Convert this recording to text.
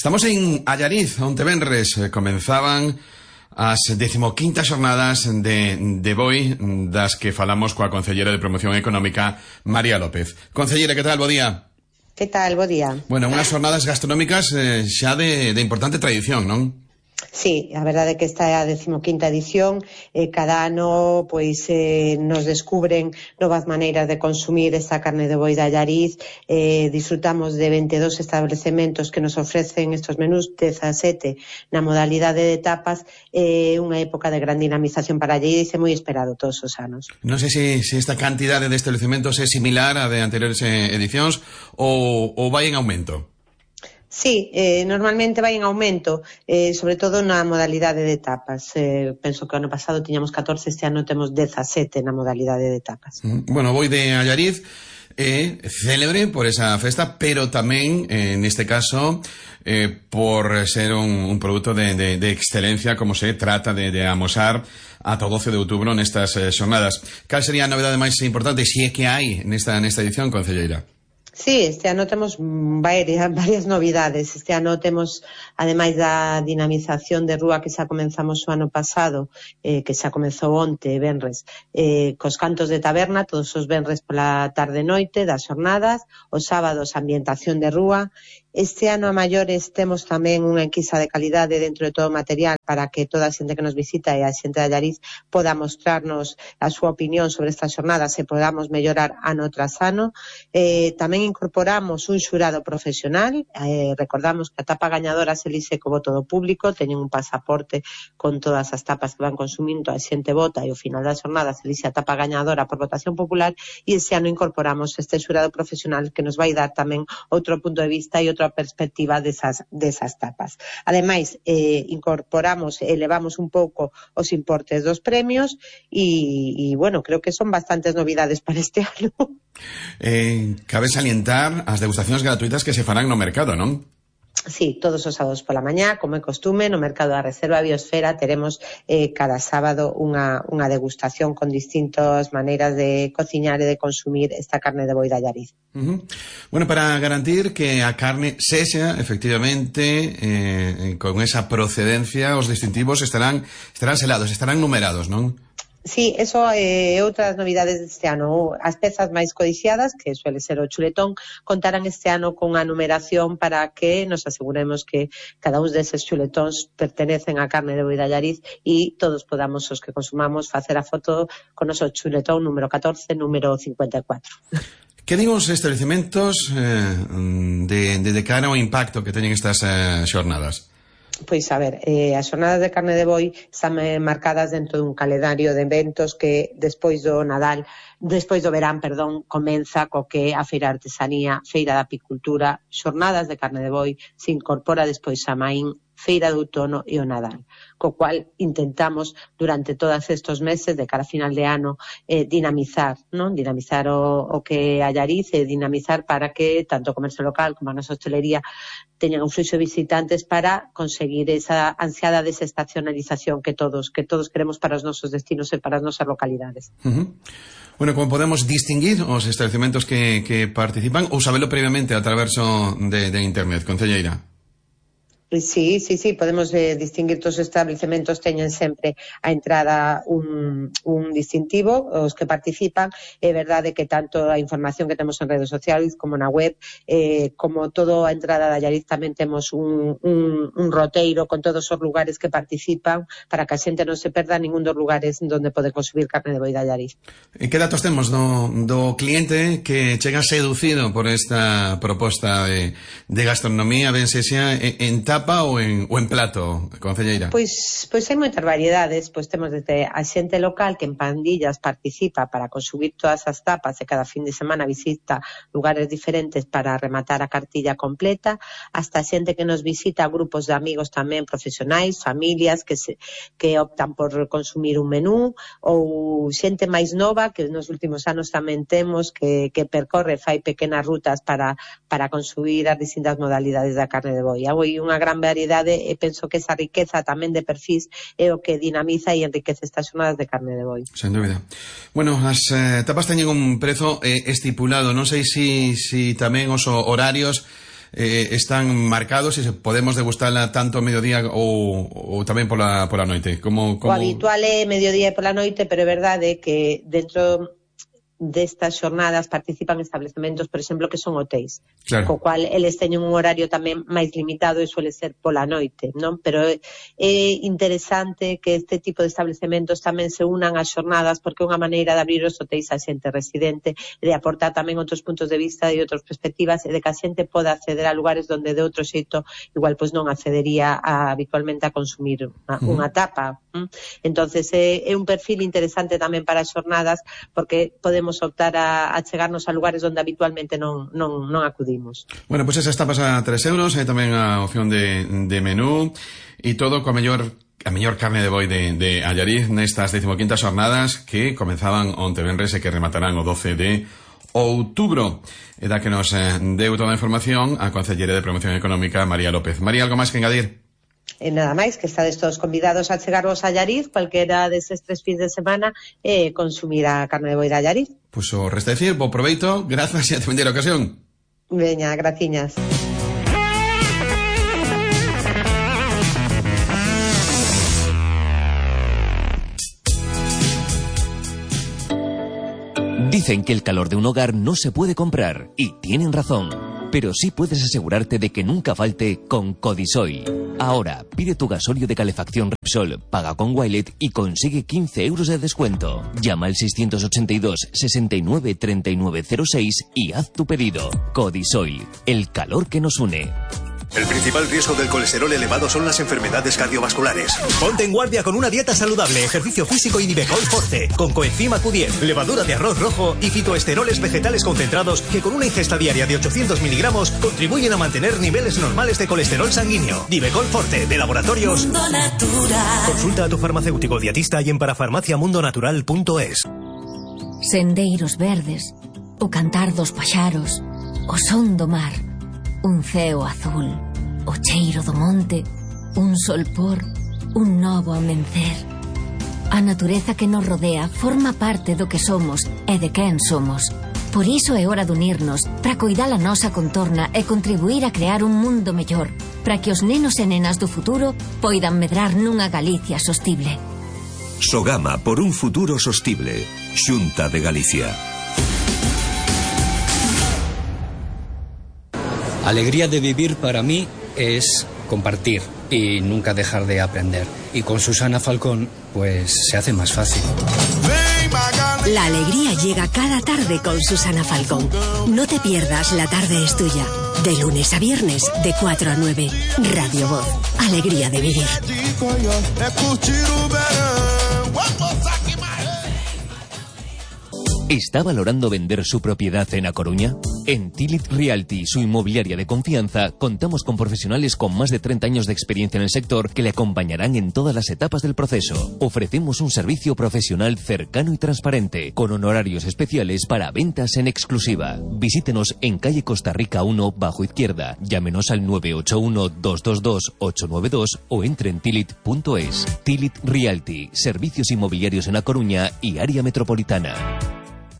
Estamos en Allariz, onte venres comenzaban as 15ª xornadas de BOI, das que falamos coa Concelleira de Promoción Económica, María López. Concelleira, que tal? Bo día. Que tal? Bo día. Bueno, unhas xornadas gastronómicas xa de importante tradición, non? Sí, a verdade é que esta é a 15ª edición. Cada ano nos descubren novas maneiras de consumir esta carne de boi de Allariz. Disfrutamos de 22 establecementos que nos ofrecen estos menús, 17 na modalidade de tapas. Unha época de gran dinamización para Allariz e moi esperado todos os anos. Non sei se esta cantidade de establecementos é similar a de anteriores edicións ou vai en aumento. Sí, normalmente vai en aumento, sobre todo na modalidade de tapas. Penso que o ano pasado tiñamos 14, este ano temos 17 na modalidade de tapas. Bueno, Boi de Allariz é célebre por esa festa, pero tamén, neste caso, por ser un produto de excelencia, como se trata de amosar ata o 12 de outubro nestas xornadas. Cal sería a novidade máis importante, se é que hai nesta edición, concelleira? Sí, este ano temos varias novidades. Este ano temos, ademais da dinamización de rúa que xa comenzamos o ano pasado, que xa comezou onte, venres, cos cantos de taberna, todos os venres pola tarde-noite das xornadas, os sábados ambientación de rúa. Este ano a maiores temos tamén unha enquisa de calidade dentro de todo o material para que toda a xente que nos visita e a xente de Allariz poda mostrarnos a súa opinión sobre estas xornadas e podamos mellorar ano tras ano. Tamén incorporamos un xurado profesional. Recordamos que a tapa gañadora se elixe co voto do público, teñen un pasaporte con todas as tapas que van consumindo, a xente vota e ao final da xornada se elixe a tapa gañadora por votación popular, e este ano incorporamos este xurado profesional que nos vai dar tamén outro punto de vista e outra perspectiva desas tapas. Ademais, incorporamos, elevamos un pouco os importes dos premios e bueno, creo que son bastantes novidades para este ano. Cabe salientar as degustacións gratuitas que se farán no mercado, non? Sí, todos os sábados pola mañá, como é costume, no Mercado da Reserva Biosfera teremos cada sábado unha degustación con distintas maneiras de cociñar e de consumir esta carne de boi de Allariz. Bueno, para garantir que a carne sexa, efectivamente, con esa procedencia, os distintivos estarán selados, estarán numerados, non? Sí, eso é outras novidades deste ano. As pezas máis codiciadas, que suele ser o chuletón, contarán este ano con a numeración para que nos aseguremos que cada un deses chuletóns pertenecen á carne de boi de Allariz e todos podamos, os que consumamos, facer a foto con o noso chuletón número 14, número 54. Que din os establecementos de cara ao impacto que teñen estas xornadas? Pois, a ver, as xornadas de carne de boi están marcadas dentro dun calendario de eventos que despois do verán, comeza co que a Feira de Artesanía, Feira da Apicultura, xornadas de carne de boi, se incorpora despois a Maín, Feira de Outono e o Nadal, co cual intentamos durante todos estes meses de cara a final de ano dinamizar, non? Dinamizar o que Allariz e dinamizar para que tanto o comercio local como a nosa hostelería teñan un fluxo de visitantes para conseguir esa ansiada desestacionalización que todos queremos para os nosos destinos e para as nosas localidades. Bueno, como podemos distinguir os establecementos que participan ou sabelo previamente a través de internet, concelleira? Sí, podemos distinguir todos os establecementos, teñen sempre a entrada un distintivo, os que participan. É verdade que tanto a información que temos en redes sociais como na web, como toda a entrada de Allariz, tamén temos un roteiro con todos os lugares que participan para que a xente non se perda ningún dos lugares onde pode consumir carne de boi de Allariz. E que datos temos do cliente que chega seducido por esta proposta de gastronomía, ben sexa en tapa ou en plato, concelleira? Pois hai moitas variedades. Pois temos desde a xente local que en pandillas participa para consumir todas as tapas e cada fin de semana visita lugares diferentes para rematar a cartilla completa, hasta a xente que nos visita grupos de amigos tamén profesionais, familias que optan por consumir un menú, ou xente máis nova que nos últimos anos tamén temos que percorre, fai pequenas rutas para consumir as distintas modalidades da carne de boi. Hai unha gran variedade e penso que esa riqueza tamén de perfis é o que dinamiza e enriquece estas xornadas de carne de boi. Sen dúbida. Bueno, as tapas teñen un prezo estipulado, non sei se tamén os horarios están marcados e se podemos degustala tanto ao mediodía ou tamén pola noite? Como... O habitual é mediodía e pola noite, pero é verdade que dentro destas xornadas participan establecementos, por exemplo, que son hotéis, claro, co cual eles teñen un horario tamén máis limitado e suele ser pola noite, non? Pero é interesante que este tipo de establecementos tamén se unan ás xornadas, porque é unha maneira de abrir os hotéis á xente residente, de aportar tamén outros puntos de vista e outras perspectivas, e de que a xente poda acceder a lugares donde de outro xeito igual pois non accedería habitualmente a consumir unha tapa. Entonces é un perfil interesante tamén para as xornadas, porque podemos optar a chegarnos a lugares onde habitualmente non acudimos. Bueno, pois esas tapas a 3 euros, hai tamén a opción de menú e todo coa a mellor carne de boi de Allariz nestas 15ª xornadas que comenzaban onte venres e que rematarán o 12 de outubro. E da que nos deu toda a información a Concelleira de Promoción Económica, María López. María, algo máis que engadir? E nada máis, que estades todos convidados a chegarvos a Allariz cualquera deses 3 fins de semana e consumir a carne de boi de Allariz. Pois o resta decir, bo proveito, grazas e a te a ocasión. Veña, graciñas. Dicen que el calor de un hogar no se puede comprar, y tienen razón. Pero sí puedes asegurarte de que nunca falte con Codisoil. Ahora, pide tu gasóleo de calefacción Repsol, paga con Wilet y consigue 15 euros de descuento. Llama al 682 69 3906 y haz tu pedido. Codisoil, el calor que nos une. El principal riesgo del colesterol elevado son las enfermedades cardiovasculares. Ponte en guardia con una dieta saludable, ejercicio físico y Divecol Forte, con coenzima Q10, levadura de arroz rojo y fitoesteroles vegetales concentrados que con una ingesta diaria de 800 miligramos contribuyen a mantener niveles normales de colesterol sanguíneo. Divecol Forte, de Laboratorios Mundo Natural. Consulta a tu farmacéutico dietista y en parafarmaciamundonatural.es. Sendeiros verdes, o cantar dos paxaros, o son do mar, un ceo azul, o cheiro do monte, un solpor, un novo amencer. A natureza que nos rodea forma parte do que somos e de quen somos. Por iso é hora de unirnos para coidar a nosa contorna e contribuir a crear un mundo mellor, para que os nenos e nenas do futuro poidan medrar nunha Galicia sostible. Sogama, por un futuro sostible. Xunta de Galicia. Alegría de vivir para mí es compartir y nunca dejar de aprender. Y con Susana Falcón, pues se hace más fácil. La alegría llega cada tarde con Susana Falcón. No te pierdas La tarde es tuya. De lunes a viernes, de 4 a 9. Radio Voz. Alegría de vivir. ¿Está valorando vender su propiedad en A Coruña? En Tilit Realty, su inmobiliaria de confianza, contamos con profesionales con más de 30 años de experiencia en el sector que le acompañarán en todas las etapas del proceso. Ofrecemos un servicio profesional cercano y transparente, con honorarios especiales para ventas en exclusiva. Visítenos en calle Costa Rica 1, bajo izquierda. Llámenos al 981-222-892 o entre en tilit.es. Tilit Realty, servicios inmobiliarios en A Coruña y área metropolitana.